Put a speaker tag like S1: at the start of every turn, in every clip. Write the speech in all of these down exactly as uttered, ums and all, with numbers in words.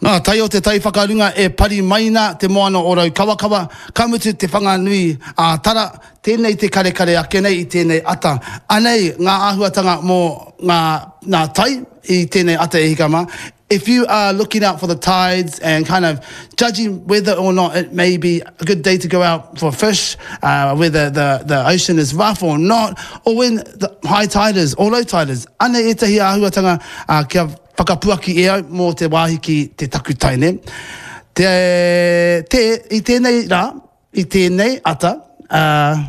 S1: Ngā tai o te tai whakarunga e pari mai nā te moana o Raukawakawa, ka mutu te Whanganui a Tara, tēnei te karekare ake nei i tēnei ata. Anei ngā āhuatanga mō ngā, ngā tai i tēnei ata e hika mā. If you are looking out for the tides and kind of judging whether or not it may be a good day to go out for fish, uh, whether the, the ocean is rough or not, or when the high tide is or low tide is, anei ētahi āhuatanga uh, kia whakapuaki e au mō te wāhi ki te takutai, nē. Te, te, i tēnei rā, i tēnei ata, uh,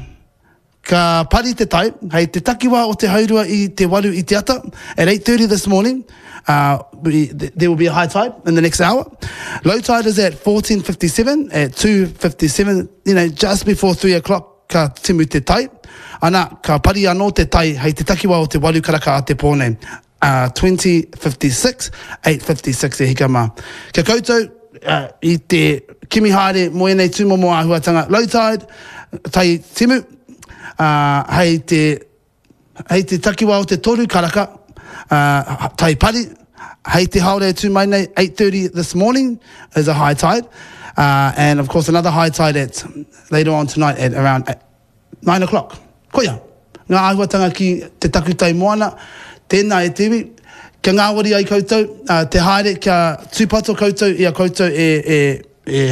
S1: ka pari te tai, hei te takiwā o te haurua i te waru i te ata, at eight thirty this morning, uh, we, there will be a high tide in the next hour. Low tide is at fourteen fifty-seven, at two fifty-seven, you know, just before three o'clock ka timu te tai. Ana, ka pari anō te tai hei te takiwā o te waru karaka a te pō nei. Uh, twenty fifty-six, eight fifty-six e hika mā. Kia koutou uh, i te kimi haere mō ēnei tūmomo āhuatanga. Low tide, tai timu, uh, hei te hei te takiwā o te toru karaka, uh, tai pari, hei te haore e tū mai nei, eight thirty this morning is a high tide. Uh, and of course another high tide at later on tonight at around nine o'clock. Koia, ngā āhuatanga ki te takutai moana, tēnā e te iwi, kia ngāwari ai koutou, uh, te haere, kia tūpato koutou i a koutou e, e, e,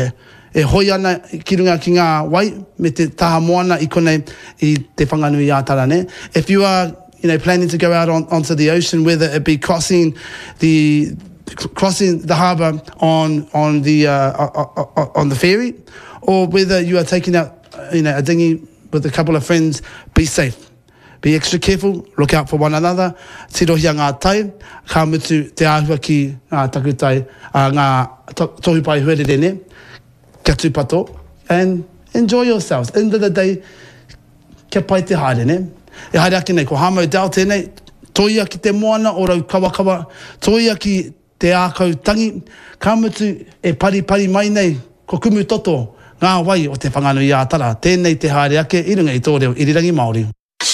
S1: e hoi ana ki runga ki ngā wai me te taha moana i konei i te Whanganui a Tara, ne? If you are you know, planning to go out on, onto the ocean, whether it be crossing the crossing the harbour on on the uh, on the ferry, or whether you are taking out you know a dinghy with a couple of friends, be safe. Be extra careful, look out for one another, tirohia ngā tai, ka mutu te āhua ki ngā takutai, uh, ngā to, tohu pae huarere, ne? Kia tūpato, and enjoy yourselves. End of the day, kia pai te haere, ne? E haere ake nei, ko Hamo Dell tēnei, toia ki te moana o Raukawakawa, toia ki te ākau tangi, ka mutu e pari pari mai nei, ko Kumutoto, ngā wai o te Whanganui a Tara. Tēnei te haere ake i runga i tō reo irirangi Māori.